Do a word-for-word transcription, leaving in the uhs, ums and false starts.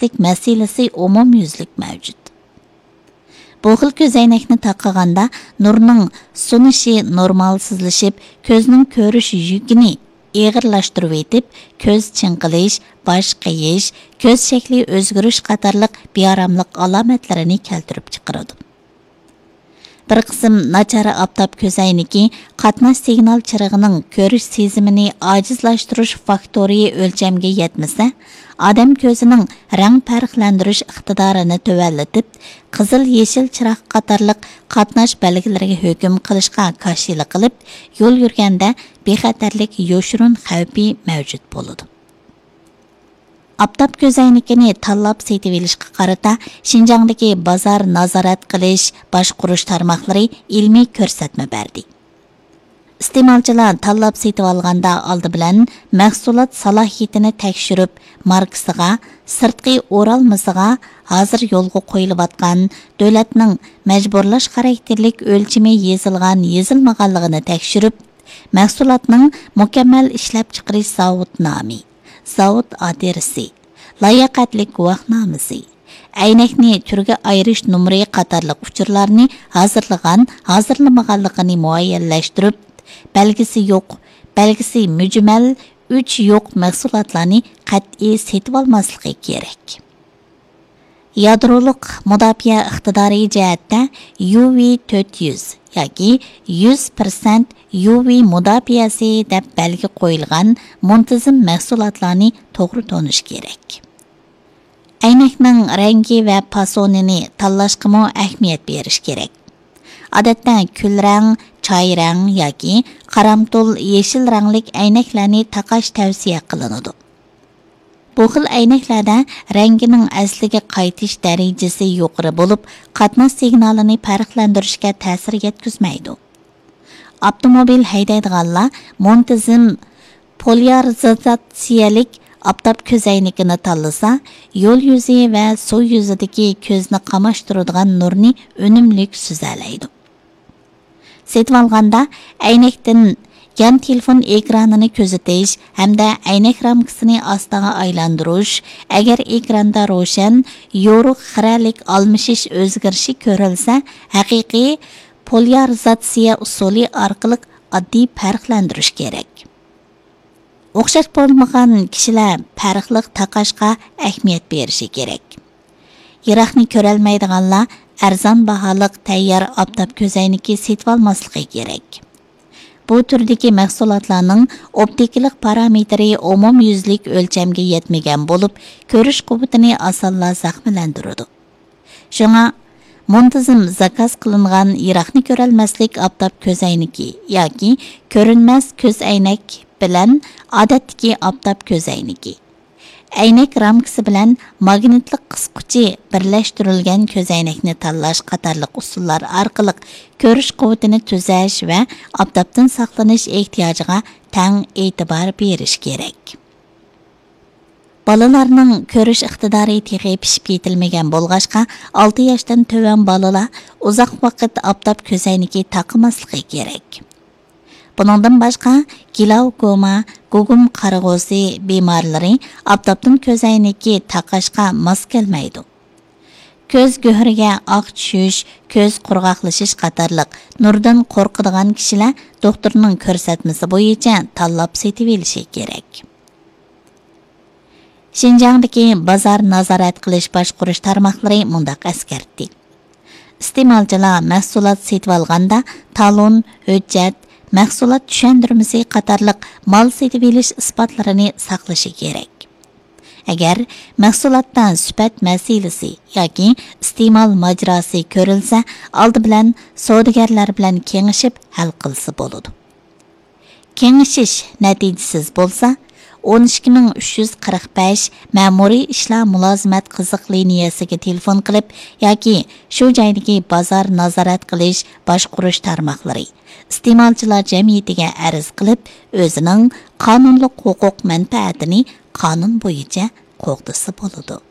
مەسىلىسى ئومۇميۈزلۈك مەۋجۇت. بۇ خىل كۆزەينەكنى تاقىغاندا نۇرنىڭ سۇنۇشى نورمالسىزلىشىپ، كۆزنىڭ كۆرۈش يۈكىنى ئېغىرلاشتۇرۇۋېتىپ، كۆز چىڭقىلىش، باش قېيىش، كۆز شەكلى ئۆزگىرىش قاتارلىق بىئاراملىق ئالامەتلىرىنى كەلتۈرۈپ چىقىرىدۇ. بىر قىسىم ناچار ئاپتاپ كۆزەينىكى قاتناش سىگنال چىرىغىنىڭ كۆرۈش سېزىمىنى ئاجىزلاشتۇرۇش فاكتورى ئۆلچەمگە يەتمىسە، ئادەم كۆزىنىڭ رەڭ پەرقلەندۈرۈش ئىقتىدارىنى تۆۋەنلىتىپ، قىزىل، يېشىل چىراغ قاتارلىق قاتناش بەلگىلىرىگە ھۆكۈم قىلىشقا كاشىلا قىلىپ، يول يۈرگەندە بىخەتەرلىك يوشۇرۇن خەۋپى مەۋجۇت بولىدۇ. ئاپتاپ كۆزەينىكىنى تاللاپ سېتىۋېلىشقا قارىتا شىنجاڭدىكى بازار نازارەت قىلىش، باشقۇرۇش تارماقلىرى ئىلمىي كۆرسەتمە بەردى. ئىستېمالچىلار تاللاپ سېتىۋالغاندا ئالدى بىلەن مەھسۇلات سالاھىيىتىنى تەكشۈرۈپ، ماركىسىغا، سىرتقى ئورالمىسىغا، ھازىر يولغا قويۇلۇۋاتقان دۆلەتنىڭ مەجبۇرلاش خاراكتېرلىك ئۆلچىمى يېزىلغان-يېزىلمىغانلىقىنى تەكشۈرۈپ، مەھسۇلاتنىڭ مۇكەممەل ئىشلەپچىقىرىش زاۋۇت نامى، زاۋۇت ئادرېسى، لاياقەتلىك گۇۋاھنامىسى، ئەينەكنى تۈرگە ئايرىش نومۇرى قاتارلىق ئۇچۇرلارنى ھازىرلىغان، ھازىرلىمىغانلىقىنى مۇئەييەنلەشتۈرۈپ، بەلگىسى يوق، بەلگىسى مۈجمەل، ئۆچى يوق مەھسۇلاتلارنى قەتئىي سېتىۋالماسلىقى كېرەك. يادرولۇق مۇداپىئە ئىقتىدارى جەھەتتە يۇ ۋى تۆت يۈز ياكى يۈز پىرسەنت يۇ ۋى مۇداپىئەسى دەپ بەلگە قويۇلغان مۇنتىزىم مەھسۇلاتلارنى توغرا تونۇش كېرەك. ئەينەكنىڭ رەڭگى ۋە پاسونىنى تاللاشقىمۇ ئەھمىيەت بېرىش كېرەك. ئادەتتە كۈلرەڭ، چاي رەڭ ياكى قارامتۇل يېشىل رەڭلىك ئەينەكلەرنى تاقاش تەۋسىيە قىلىنىدۇ. بۇ خىل ئەينەكلەردە رەڭگىنىڭ ئەسلىگە قايتىش دەرىجىسى يۇقىرى بولۇپ، قاتناش سىگنالىنى پەرقلەندۈرۈشكە تەسىر يەتكۈزمەيدۇ. ئاپتوموبىل ھەيدەيدىغانلار مۇنتىزىم پوليارىزاتسىيەلىك ئاپتاپ كۆزەينىكىنى تاللىسا، يول يۈزى ۋە سۇ يۈزىدىكى كۆزنى قاماشتۇرىدىغان نۇرنى ئۈنۈملۈك سۈزەلەيدۇ. سېتىۋالغاندا ئەينەكتىن يان تېلېفون ئېكرانىنى كۆزىتىش ھەمدە ئەينەك رامكىسىنى ئاستىغا ئايلاندۇرۇش، ئەگەر ئېكراندا روشەن، يورۇق خىرەلىك ئالمىشىش ئۆزگىرىشى كۆرۈلسە، ھەقىقىي پوليارىزاتسىيە ئۇسۇلى ئارقىلىق ئاددىي پەرقلەندۈرۈش كېرەك. ئوخشاش بولمىغان كىشىلەر پەرقلىق تاقاشقا ئەھمىيەت بېرىشى كېرەك. يىراقنى كۆرەلمەيدىغانلار ئەرزان باھالىق تەييار ئاپتاپ كۆزەينىكى سېتىۋالماسلىقى كېرەك. بۇ تۈردىكى مەھسۇلاتلارنىڭ ئوپتىكىلىق پارامېتىرى ئومۇميۈزلۈك ئۆلچەمگە يەتمىگەن بولۇپ، كۆرۈش قۇۋۋىتىنى ئاسانلا زەخىملەندۈرىدۇ. شۇڭا، مۇنتىزىم زاكاز قىلىنغان يىراقنى كۆرەلمەسلىك ئاپتاپ كۆزەينىكى ياكى كۆرۈنمەس كۆزئەينەك بىلەن ئادەتتىكى ئاپتاپ كۆزەينىكى، ئەينەك رامكىسى بىلەن ماگنىتلىق قىسقۇچى بىرلەشتۈرۈلگەن كۆزەينەكنى تاللاش قاتارلىق ئۇسۇللار ئارقىلىق كۆرۈش قۇۋۋىتىنى تۈزەش ۋە ئاپتاپتىن ساقلىنىش ئېھتىياجىغا تەڭ ئېتىبار بېرىش كېرەك. بالىلارنىڭ كۆرۈش ئىقتىدارى تېخى پىشىپ يېتىلمىگەن بولغاچقا، ئالتە ياشتىن تۆۋەن بالىلار ئۇزاق ۋاقىت ئاپتاپ كۆزەينىكى تاقىماسلىقى كېرەك. بۇنىڭدىن باشقا، گلاوكوما، گۇگۇم قارىغۇسى بىمارلىرى ئاپتاپتىن كۆزەينىكى تاقاشقا ماس كەلمەيدۇ. كۆز گۆھىرىگە ئاق چۈشۈش، كۆز قۇرغاقلىشىش قاتارلىق نۇردىن قورقىدىغان كىشىلەر دوختۇرنىڭ كۆرسەتمىسى بويىچە تاللاپ سېتىۋېلىشى كېرەك. شىنجاڭدىكى بازار نازارەت قىلىش باشقۇرۇش تارماقلىرى مۇنداق ئەسكەرتتى: ئىستېمالچىلار مەھسۇلات سېتىۋالغاندا تالون، ھۆججەت، مەھسۇلات چۈشەندۈرمىسى قاتارلىق مال سېتىۋېلىش ئىسپاتلىرىنى ساقلىشى كېرەك. ئەگەر مەھسۇلاتتا سۈپەت مەسىلىسى ياكى ئىستېمال ماجىراسى كۆرۈلسە، ئالدى بىلەن سودىگەرلەر بىلەن كېڭىشىپ ھەل قىلسا بولىدۇ. كېڭىشىش نەتىجىسىز بولسا، ئون ئىككى مىڭ ئۈچ يۈز قىرىق بەش مەمۇرىي ئىشلار مۇلازىمەت قىزىق لىنىيەسىگە تېلېفون قىلىپ ياكى شۇ جايدىكى بازار نازارەت قىلىش باشقۇرۇش تارماقلىرى، ئىستېمالچىلار جەمئىيىتىگە ئەرز قىلىپ، ئۆزىنىڭ قانۇنلۇق ھوقۇق مەنپەئەتىنى قانۇن بويىچە قوغدىسا بولىدۇ.